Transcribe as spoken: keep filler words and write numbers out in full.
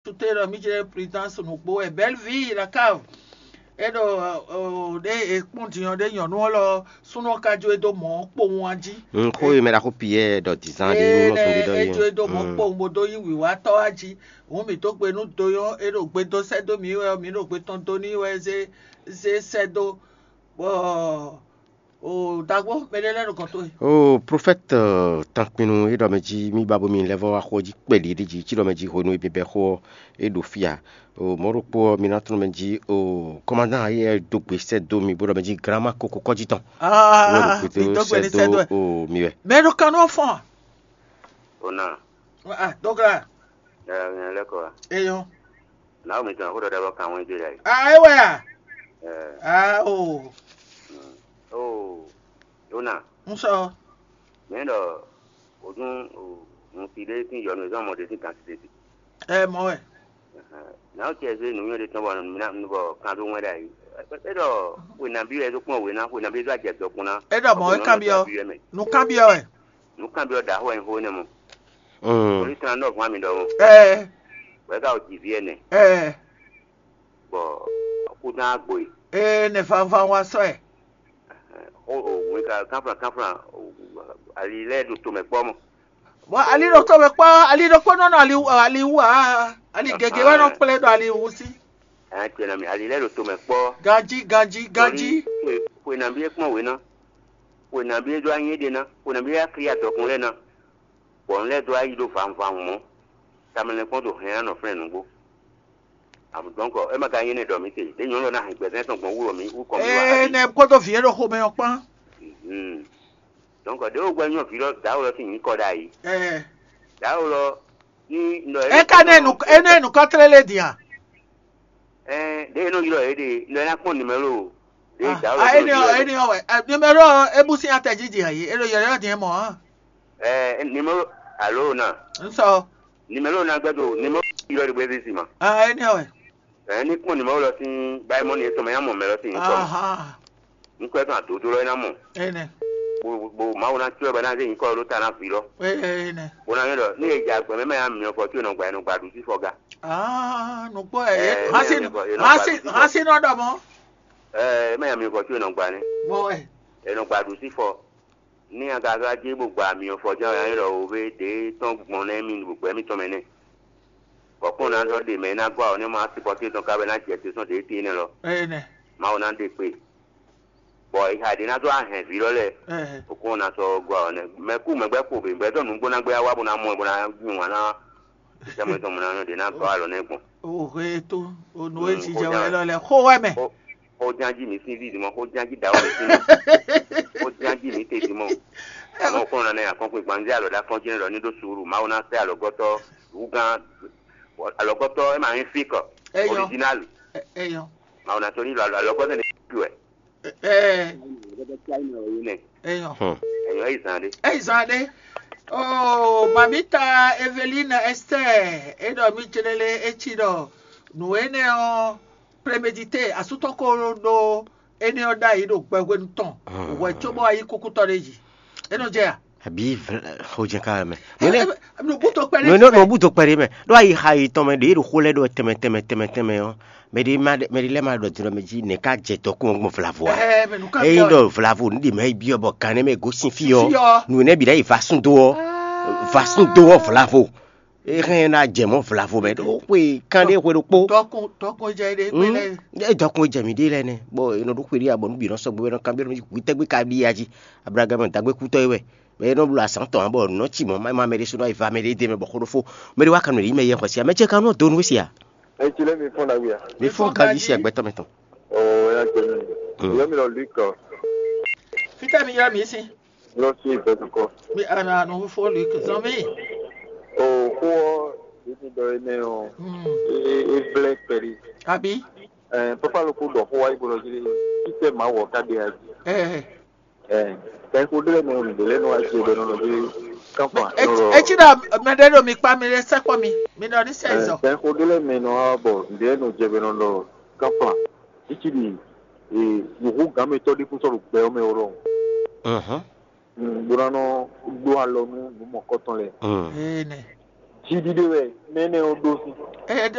Sute ɖɔ mí jɛ présidence nǔgbó wɛ Bellevue la cave. É ɖo ɖé e kpɔ́n din ɔ́ ɖé nyɔ̌nu ɔ́ lɔ súnnu ɔ́ ka jó e dó mɔ̌ kpowun a jí. Xó e mɛ ɖaxó Piyɛ́ɛ ɖɔ dǐzán ɖé ní mɔ zɔn ɖé ɖɔ é jó e dó mɔ̌ kpowun bó dó nyí wǐwátɔ́ a jí. Hǔn mǐ dó gbe nú do nyɔ́ é ɖo gbe dó sɛ́ dó mǐ wɛ ɔ́, mǐ ɖo gbe tɔn dó n'i wɛ zé zé sɛ́ dó. Bɔ o dagbo mɛ ɖé lɛ́ ɖo gɔn towe. O profɛ́te tankpinnu e ɖɔ mɛ jí mì ba bómi lɛ́ vɔ́ wá xó jí kpɛɖi ɖi jí cí ɖɔ mɛ jí hwenu e bɛbɛ xó ɔ́ é ɖo fí a. O mɔ̌ ɖokpó ɔ́ mi ná tunú mɛ jí o kɔmandán ayé dó gbe sɛ́ dó mi bó ɖɔ mɛ jí granma koko kɔ́jí tɔn. Aa mi dó gbe ní sɛ́ dó ɛ. O mi wɛ. Mɛ ɖo kan nú ɔ́ fɔ́n. Ona. Ah, dógla. Ɛ ɛ lɛkɔ. Eyɔn. Naomi tɔn xó ɖɔɖɔ bɔ kan wɛn jɛ yá yi. Ah, é wɛ a? Ɛ. Ah, o. Mm. Oh. Yona. N sɔ. Mɛ ɖɔ o dun o ŋuti ɖé sín yɔnu zɔn mɔ ɖé sín kan ti ɖé. Ɛ mɔ wɛ. Naho cɛ zé nǔnywɛ́ ɖé tɔn bɔ nǔ bɔ kan ɖó wɛn ɖ'ayǐ. É ɖɔ xwe nabí wɛ é ɖó kplɔ́n wě ná, xwe nabí é ɖó ajɛ dɔkun ná. É ɖɔ mɔ̌ é kanbyɔ́. Nǔ kanbyɔ́ wɛ. Nǔ kanbyɔ́ ɖaxó wɛ nyí xó énɛ́ mɔ. Orí tán nɔ hwan mi ɖɔhun. Ɛɛ. Bɔ é ka wɔ jǐví ɛnɛ. Ɛɛ. Bɔ kúdán agbo yi. Ee, nɛ fanfan wa sɔ ɛ. O o wín ka kánflan kánflan ali lɛ́ɛ ɖo tomɛ kpɔ́ mɔ. Bɔ ali ɖo tomɛ kpɔ́, ali ɖokpó nɔ nɔ ali ali wú aa, ali gěgé wɛ nɔ kplé ɖo ali wú sí. Ɛ tɛnɛ mi ali lɛ́ɛ ɖo tomɛ kpɔ́. Ganjí ganjí ganjí. Xwe nabí é kpɔ́n wě ná. Xwe nabí é ɖó anyí ɖé ná. Xwe nabí é akli adɔkun lɛ́ɛ ná. Bɔ un lɛ́ dó ayi ɖó vanvun mɔ̌. Tamɛ lɛ́ kpɔ́n ɖo hɛn anɔ flɛ́n nǔgbó. Dɔ̌nkɔ é ma ka nyí énɛ́ ɖɔ mǐ se, ɖěe nyɔ̌nu ɔ́ ná hɛn gbɛzɛ́n tɔn gbɔn wú ɖɔ mǐ wú kɔn mǐ wá. Ee, nɛ kpódó vǐ e ɖo xomɛ ɔ́ kpán. Dɔ̌nkɔ ɖěe wú gbɛ́ nyɔ́ vǐ lɔ dǎwe lɔ sín nyǐkɔ ɖ'ayǐ. Ɛɛ. Dǎwe lɔ ní nɔ É ka nɛ nu é nɛ nukɔn tlélé din a? Ɛɛ, ɖěe nɔ ylɔ́ yě ɖe nɔ é ná kpɔ́n nimɛlo. Ɖěe dǎwe lɔ Ah, énɛ́ ɔ́, énɛ́ ɔ́ wɛ. Ah, numéro ɔ́, é bú sín atɛ jí din a yě? É ɖo yɔ̌yɔ́ din ɛ mɔ̌ a? Ɛɛ, nimɛlo alo na. Un sɔ. Nimɛlo na gbɛdo nimɛlo ylɔ́ ɖe bó é zé si ma. Ah, énɛ́ ɔ́ wɛ. Ɛɛ, ní kpɔ́n nimɛlo lɔ sín báyìí mɔ́ ni é tɔn mɛ yá mɔ mɛ lɔ sín nyǐkɔ. Aha. Nyǐkɔ tɔn adodó lɔ é ná mɔ. Énɛ́. Bo bo Mawu ná cyɔ bɔ é ná zé nyǐkɔ lɔ ɖó ta ná vǐ lɔ. Énɛ́. Bó ná nyɔ́ ɖɔ ní è jɛ agbɛ̌ mɛ mɛ yá myɔ fɔ có è nɔ gba è nɔ gba ɖu sí fɔ ga. Ah, nukpɔ ɛ Ɛɛ, hasi mɛ yá myɔ fɔ è nɔ gba hasi ɖu sí fɔ. Hasi nɔ ɖɔ mɔ. Ɛɛ, mɛ yá myɔ fɔ có è nɔ gba nɛ. Mɔ ɛ. È nɔ gba ɖu sí fɔ. Ní a ka zɔ́ jí bó gba myɔ fɔ jɛ́n ɔ́, é ɖɔ wǒ ɖě tɔn gbɔn nɛ́ mì ɖo gbɛ̌ mitɔn mɛ nɛ́. Bɔ kpɔ́n ná zɔ́ ɖe mɛ e ná gɔ́ awɔ nɛ́ mɔ asipɔ́sí tɔn ká wɛ ná jɛ te sɔ́ ɖě tɛ́nnɛ lɔ. Énɛ́. Mawu ná ɖe kpe. Bɔ è xa ɖě ná zɔ́ ahɛn vǐ lɔ lɛ́ɛ. Ɛhɛ. Bɔ kpɔ́n ná sɔ́ gɔ́ awɔ nɛ́. Mɛ kú mɛ gbɛ́ kpo bě, bɔ é zɔ́ nǔgbó ná gbé wá bó ná mɔ ɛ bó ná nyi wǎn ná. Sɛ́ mɔ tɔn mɔ ná nɔ ɖě ná gɔ́ alɔ nɛ́ gbɔn. Ohe to, onu e Mm, jijɛ wɛ lɔ lɛ xo wɛ mɛ. Xó xó ján jí mǐ sín vívi mɔ, xó ján jí dǎwe mǐ sín mɔ, xó ján jí mǐ tedzi mɔ. Àmọ́ kó nɔ nɛ akɔnkpin gbanzé alɔ ɖe akɔnjínɛ ɖɔ ní ɖó suúlu, Mawu ná sɛ́ alɔgɔ́tɔ́ wúgán alɔgɔ́tɔ́ é ma nyí fíkɔ Eyɔ. Original. Eyɔ. Mawu ná sɔ́ ní alɔgɔ́tɔ́ ní kú ɛ. Ɛɛ. Eyɔ. Hmm. Eyɔ yi zan ɖe. Eyi zan ɖe. Oh, mamita Eveline Esther, e ɖɔ mi jlele e ci ɖɔ nǔ énɛ́ ɔ́, prémédité, asútɔ́ ko ɖó énɛ́ ɔ́ ɖ'ayǐ ɖo gbɛhwenu tɔn hwɛ cóbɔ wá yí kúkútɔ́ ɖé jí. É nɔ jɛ a? Àbí xojɛ ká mɛ. Nùbútó kpɛɖé. Nùbútó kpɛɖé mɛ. Ɖó ayi xa yi tɔn mɛ ɖě ɖo xó lɛ́ ɖɔ tɛmɛ tɛmɛ tɛmɛ tɛmɛ ɔ́. Mɛ ɖé ma mɛ ɖé lɛ́ ma ɖɔ din ɖɔ mɛ jí nɛ̌ ká jɛ dɔkun ɔ́ gbɔn vlavo a? Ɛ mɛ nǔ ká Ényí ɖɔ vlavo nǔ ɖě mɛ yi byɔ́ bɔ gannɛ mɛ gosín fí ɔ́, Fí ɔ́. Nǔ nɛ́ bǐ ná yi va sún dó ɔ́, va sún dó ɔ́ vlavo. É hɛn ná jɛ mɔ̌ vlavo mɛ ɖó xwe kan ɖé xwe ɖokpó. Tɔkun tɔkun jɛ ɖe kpe lɛ. É dɔkun jɛ mǐ ɖe lɛ́ɛ nɛ́, bɔ è nɔ ɖó xwe ɖé abɔ nú bǐ nɔ sɔgbe wɛ nɔ kanbyɔ́ nɔ hu tɛ́gbé ka ɖi ya jí. Ablaham dǎgbé kútɔ́ é wɛ. Mɛ e nɔ bló azǎn tɔn ǎ bɔ nǔ nɔ ci mɔ̌ má má mɛ ɖé sú nɔ yi va mɛ ɖé dó mɛ bɔ xó ɖó fó. Mɛ ɖé wá kan nɔ ɖi mɛ yɛ xɔ sia mɛ ce kan nɔ dó nú wé sia. Eci lɛ́ mi fɔ́n ɖagbe a? Mi fɔ́n ganjí sia gbɛtɔ́ mɛ tɔn. Oo, ya jɛ mi. Mm. Yɔ mi lɔ Luc. Fítɛ́ mi ylɔ́ mǐ sín? Lɔ sí ìgbẹ́dùkọ. Mi àná àná fó Luc zɔn mí. O xó ɔ yìí ti dɔ énɛ́ ɔ. Mm. E e vlɛ kpɛɖi. Àbí? Ɛ papa ló kó dɔ xó wá ibo lɔ jí. Títɛ màá wɔ ká de ají. Ɛ Ɛ kɛxo ɖé lɛ́ɛ mɛ ɔ́, nǔɖé lɛ́ɛ nɔ wá jɛ bɔ è nɔ nɔ ɖó kánfan. Etsí ɖɔ mɛ ɖé ɖo mi kpá mi ɖé sɛkpɔ mi, mi ɖɔ ní sɛ zɔ. Kɛxo ɖé lɛ́ɛ mɛ nɔ wá bɔ nǔɖé lɛ́ɛ nɔ jɛ bɔ è nɔ ɖɔ kánfan. Títí ɖi yǒhó gǎnmɛtɔ́ ɖé kún sɔ́ ɖo gbɛ ɔ́ mɛ ó ɖɔhun. Bó ná nɔ ɖó alɔ nú nǔ mɔ̌kɔtɔn lɛ́ɛ. Ee nɛ. Jí ɖíɖé wɛ mɛ énɛ́ ɔ́ ɖó sín. Ɛ